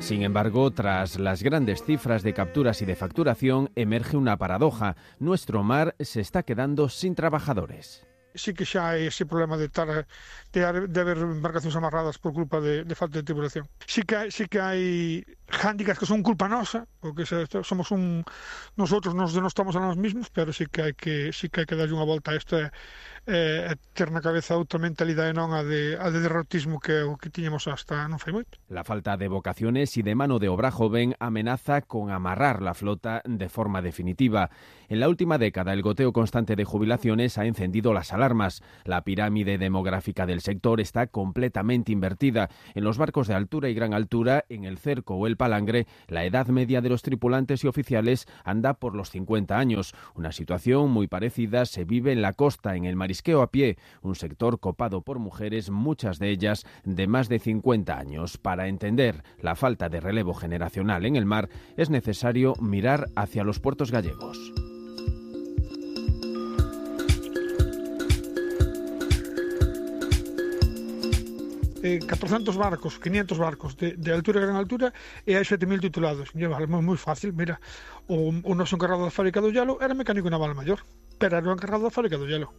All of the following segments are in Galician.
Sin embargo, tras las grandes cifras de capturas y de facturación, emerge una paradoja. Nuestro mar se está quedando sin trabajadores. Sí que xa hai ese problema de haber embarcacións amarradas por culpa de falta de tripulación. Sí que hai hándicaps que son culpa nosa, porque somos nosotros nos denostamos a nós mismos, pero sí que hai que darlle unha volta a isto e ter na cabeza outra mentalidade non a de derrotismo que é o que tiñamos hasta non fai moito. La falta de vocaciones y de mano de obra joven amenaza con amarrar la flota de forma definitiva. En la última década, el goteo constante de jubilaciones ha encendido las alarmas. La pirámide demográfica del sector está completamente invertida. En los barcos de altura y gran altura, en el Cerco o el Palangre, la edad media de los tripulantes y oficiales anda por los 50 años. Una situación muy parecida se vive en la costa, en el marisqueo a pie, un sector copado por mujeres, muchas de ellas de más de 50 años. Para entender la falta de relevo generacional en el mar, es necesario mirar hacia los puertos gallegos. 400 barcos, 500 barcos de altura e gran altura e hai 7.000 titulados. Vale, moi fácil, mira, o noso encargado da fábrica do hielo era mecánico naval maior, pero era o encargado da fábrica do hielo.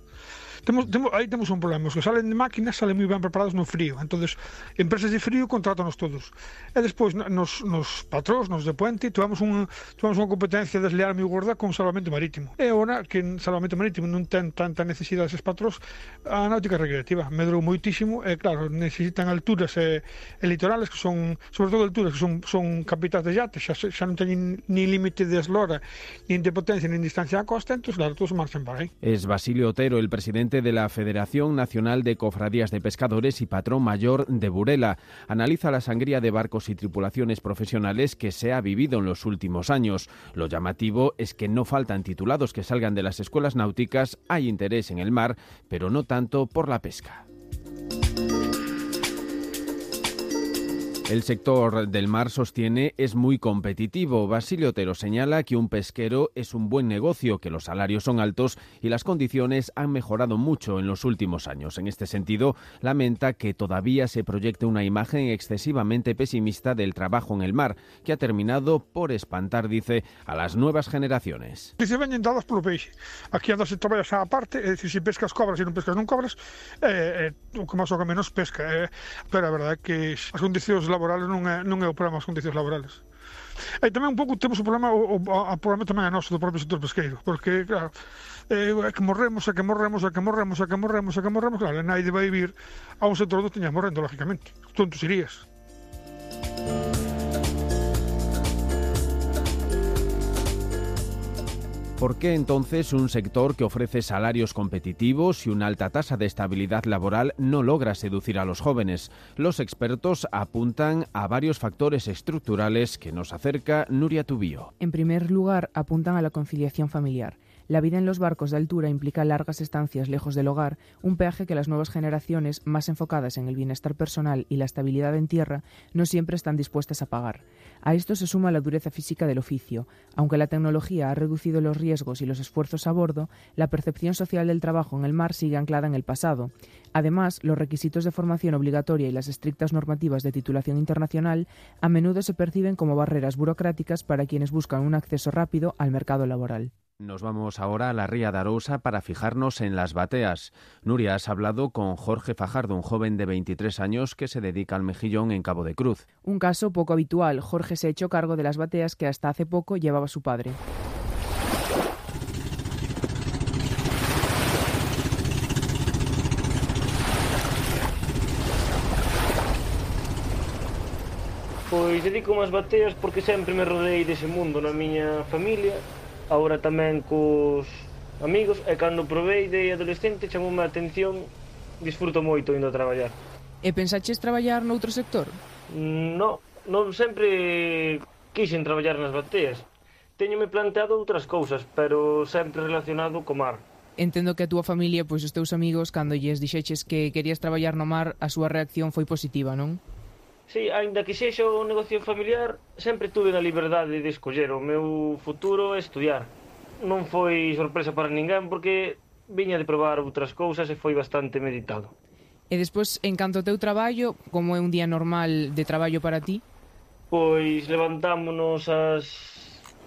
Aí temos un problema, os que salen de máquinas salen moi ben preparados no frío, entonces empresas de frío contrátanos todos, e despois nos patróns, nos de puente, tuvamos unha competencia desleal moi gorda con salvamento marítimo, e agora que en salvamento marítimo non ten tanta necesidade eses patróns, a náutica recreativa medrou moitísimo, e claro, necesitan alturas e litorales que son, sobre todo alturas que son capitais de yates, xa non teñen ni límite de eslora, nin de potencia, nin distancia á costa, entón claro, todos marchan para aí. Es Basilio Otero, el presidente de la Federación Nacional de Cofradías de Pescadores y patrón mayor de Burela. Analiza la sangría de barcos y tripulaciones profesionales que se ha vivido en los últimos años. Lo llamativo es que no faltan titulados que salgan de las escuelas náuticas, hay interés en el mar, pero no tanto por la pesca. El sector del mar, sostiene, es muy competitivo. Basilio Otero señala que un pesquero es un buen negocio, que los salarios son altos y las condiciones han mejorado mucho en los últimos años. En este sentido, lamenta que todavía se proyecte una imagen excesivamente pesimista del trabajo en el mar, que ha terminado por espantar, dice, a las nuevas generaciones. Dice, veñen dadas polo peixe. Aquí andas e traballas á parte, é dicir, se pescas cobras e non pescas non cobras, o que máis ou que menos pesca. Pero a verdade é que as condicións laborales non é o problema, as condicións laborales. E tamén un pouco temos o problema, o problema tamén é noso do propio sector pesqueiro, porque claro, é que morremos, claro, naide vai vir a un sector onde teña morrendo, lógicamente. Tontos irías. ¿Por qué entonces un sector que ofrece salarios competitivos y una alta tasa de estabilidad laboral no logra seducir a los jóvenes? Los expertos apuntan a varios factores estructurales que nos acerca Nuria Tubío. En primer lugar, apuntan a la conciliación familiar. La vida en los barcos de altura implica largas estancias lejos del hogar, un peaje que las nuevas generaciones, más enfocadas en el bienestar personal y la estabilidad en tierra, no siempre están dispuestas a pagar. A esto se suma la dureza física del oficio. Aunque la tecnología ha reducido los riesgos y los esfuerzos a bordo, la percepción social del trabajo en el mar sigue anclada en el pasado. Además, los requisitos de formación obligatoria y las estrictas normativas de titulación internacional a menudo se perciben como barreras burocráticas para quienes buscan un acceso rápido al mercado laboral. Nos vamos ahora a la Ría de Arousa para fijarnos en las bateas. Nuria, has hablado con Jorge Fajardo, un joven de 23 años que se dedica al mejillón en Cabo de Cruz. Un caso poco habitual. Jorge se echó cargo de las bateas que hasta hace poco llevaba su padre. Pois dedico as bateas porque sempre me rodeei dese mundo na miña familia. Agora tamén cos amigos, e cando probei de adolescente chamoume a atención, disfruto moito indo a traballar. E pensaches traballar noutro sector? Non sempre quixen traballar nas bateas. Teñome planteado outras cousas, pero sempre relacionado co mar. Entendo que a túa familia, pois os teus amigos, cando lles dixeches que querías traballar no mar, a súa reacción foi positiva, non? Sí, aínda que sexa un negocio familiar, sempre tuve a liberdade de escoller o meu futuro e estudiar. Non foi sorpresa para ninguén porque viña de probar outras cousas e foi bastante meditado. E despois, en canto ao teu traballo, como é un día normal de traballo para ti? Pois levantámonos ás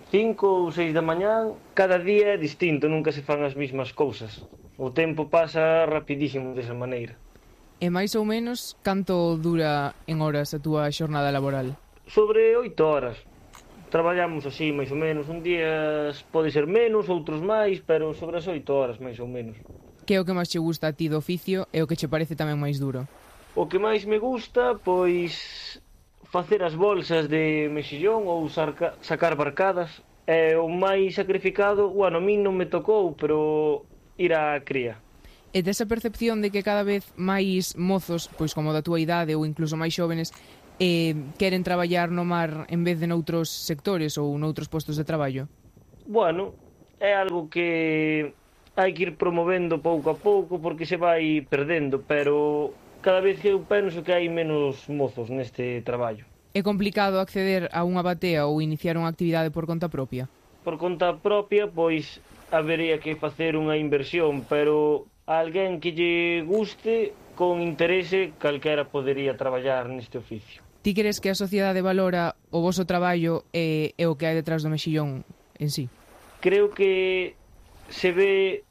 5 ou 6 da mañán, cada día é distinto, nunca se fan as mesmas cousas. O tempo pasa rapidísimo desa maneira. E máis ou menos, canto dura en horas a túa xornada laboral? Sobre 8 horas. Traballamos así, máis ou menos. Un día pode ser menos, outros máis, pero sobre as 8 horas, máis ou menos. Que é o que máis che gusta a ti do oficio e o que che parece tamén máis duro? O que máis me gusta, pois, facer as bolsas de mexillón ou sacar barcadas. É o máis sacrificado, bueno, a min non me tocou, pero ir á cría. E desa percepción de que cada vez máis mozos, pois como da túa idade ou incluso máis xóvenes, queren traballar no mar en vez de noutros sectores ou noutros postos de traballo? Bueno, é algo que hai que ir promovendo pouco a pouco porque se vai perdendo, pero cada vez que eu penso que hai menos mozos neste traballo. É complicado acceder a unha batea ou iniciar unha actividade por conta propia? Por conta propia, pois, habería que facer unha inversión, pero a alguén que lle guste, con interese, calquera podería traballar neste oficio. Ti crees que a sociedade valora o voso traballo e o que hai detrás do mexillón en sí? Creo que se ve,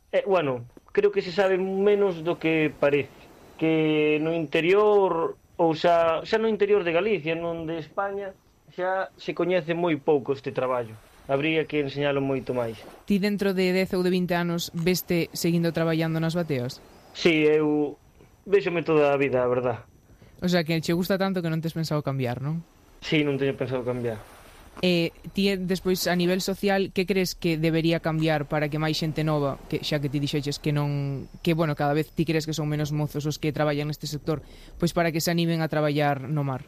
creo que se sabe menos do que parece. Que no interior, ou xa no interior de Galicia, non de España, xa se coñece moi pouco este traballo. Habría que enseñalo moito máis. Ti dentro de 10 ou de 20 anos veste seguindo traballando nas bateas? Si, eu véxome toda a vida, a verdad. O sea, que che gusta tanto que non tes pensado cambiar, non? Si, non teño pensado cambiar. E ti, despois, a nivel social, que crees que debería cambiar para que máis xente nova, que xa que ti dixeches que non, que, bueno, cada vez ti crees que son menos mozos os que traballan neste sector, pois para que se animen a traballar no mar?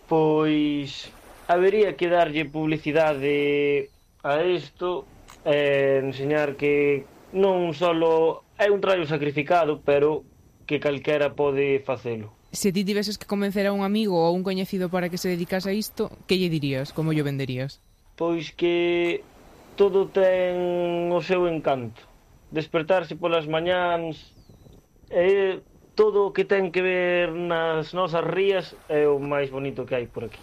Pois habería que darlle publicidade a isto, enseñar que non solo é un traballo sacrificado, pero que calquera pode facelo. Se ti tiveses que convencer a un amigo ou a un coñecido para que se dedicase a isto, que lle dirías? Como lle venderías? Pois que todo ten o seu encanto. Despertarse polas mañáns, todo o que ten que ver nas nosas rías é o máis bonito que hai por aquí.